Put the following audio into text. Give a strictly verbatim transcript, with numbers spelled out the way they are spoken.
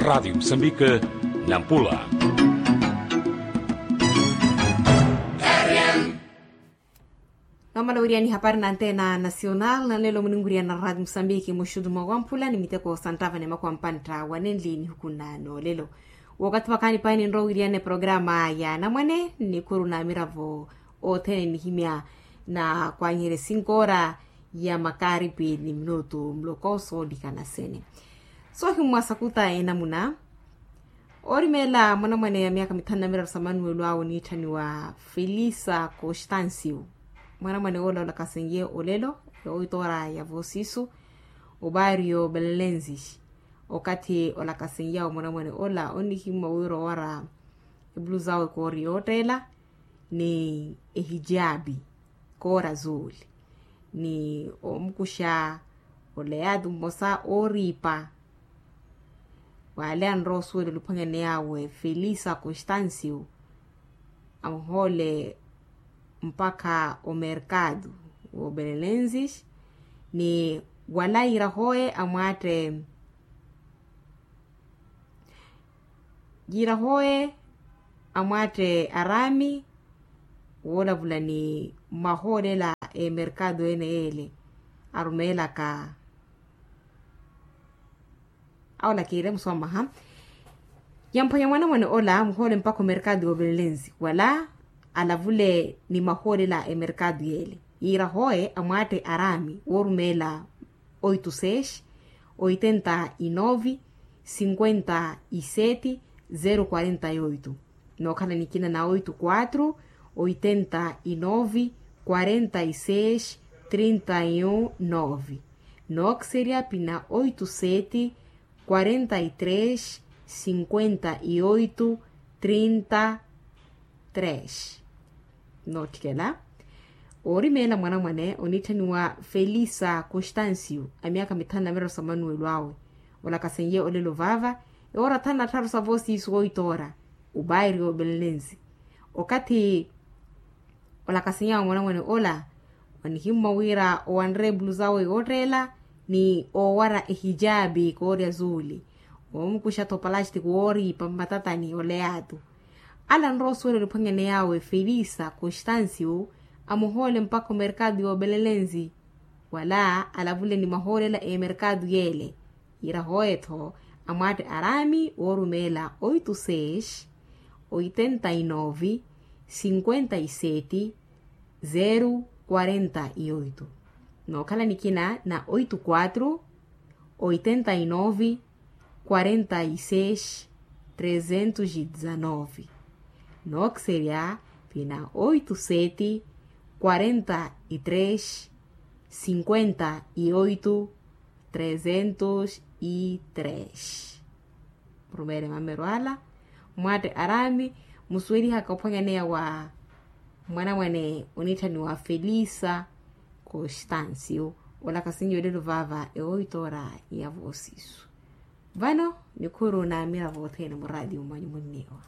Radiyo musambika, nampula. Nomala wiriani hapari na antena nasional nanlelo muninwiriana radiyo musambiki muxutu mwa wamphula ni miteko santava ni makwa mpantta wanenli nihukunano lelo. Wakathi wakaani paini nro wiriane programa ya namwane nikuru na miravo othene nihimya na kwanyere sinkora ya makaripi ni minutu mloko solikana sene. Sohimmwa sakuta enamuna. Orimela mwanamwane ya myaka mithanu na miraru sa manuwelo awe oniitthaniwa felisa constancio. Mwanamwane ola olakasenye olelo yowitora ya vosisu obario belenensis. Okathi olakasenyawe mwanamwane ola onihimwa wira owara ebuluzawe koori yoottela ni ehijabi koora zuuli ni omukuxa oleyaatu mmosa ooriipa wale anrowa osuwela oluphwanyani yawe felisa constancio amuhoole mpakha omerkado woobelenensis ni wala yiirahoye amwaatte yiirahoye amwaatte araami woolavula ni mahoolela emerkado ene yeele arumeelaka awo lakiire muswamaha yamphwanya mwanamwane ola muhoole mpakha omerkado yoovelenlensi wala alavule ni mahoolela emerkado yeele yiirahoye amwaatte araami woorumeela oito seis oitenta e nove cinquenta e sete zero quarenta e oito nookhala nikina na oito quatro oitenta e nove quarenta e seis trinta e um nove nookiseriya pina oito sete quarenta e três cinquenta e oito trinta três nootthikela oorimeela mwanamwane oniitthaniwa felisa constancio a myaka mithanu na miraru sa manuwelo awe olakasenye olelo vaava ewoora thanu na tthaaru sa voosiisu woitoora obairi obelenensi okathi olakasenyawe mwanamwane ola onihimmwa wira owanre ebuluzawe yootteela ni oowara ehijabi koorya zuuli oomukuxa-tho palastiki wooriipa mmatatani oleyaatu ala anrowa osuwela oluphwanyani yawe felisa constancio amuhoole mpakha omerkado yoobelenensi wala alavule ni mahoolela emerkado yeele yiirahoye-tho amwaatte araami woorumeela oito seis oitenta e nove cinquenta e sete zero quarenta e oito nookhala nikina na oito quatro oitenta e nove quarenta e seis trezentos e dezanove nookiserya pina oito sete quarenta e três cinquenta e oito trezentos e três murumeele mameru ala mwaatte araami musuwelihaka ophwanyaneya wa mwanamwane oniitthaniwa felisa constancio olakasinye olelo vaava ewoitoora ya voosisu vano nikhuru na miravo othene muraatiyo mwanyu munniiwa